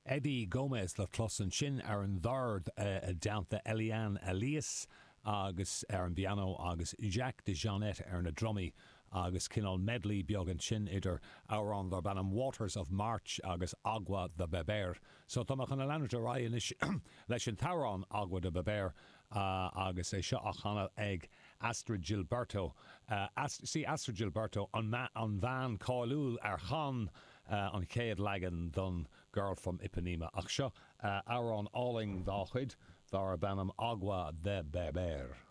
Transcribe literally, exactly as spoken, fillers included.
Eddie Gomez le clos ansin ar an dord i dteannta Eliane Elias agus ar an bpianó agus Jacques DeJohnette ar na drumaí agus cineál medley beag ansin idir amhrán darb ainm Waters of March agus Água de Beber. So tá mé chun leanúint ar aghaidh anois leis an t-amhrán Água de Beber uh, agus é seo á chanadh ag Astrud Gilberto. Uh, Ast sí Astrud Gilberto an, an bhean cáiliúil ar chan uh, an chéad leagan don Girl from Ipanema. Ach seo uh, amhrán álainn dá chuid darb ainm Água de Beber.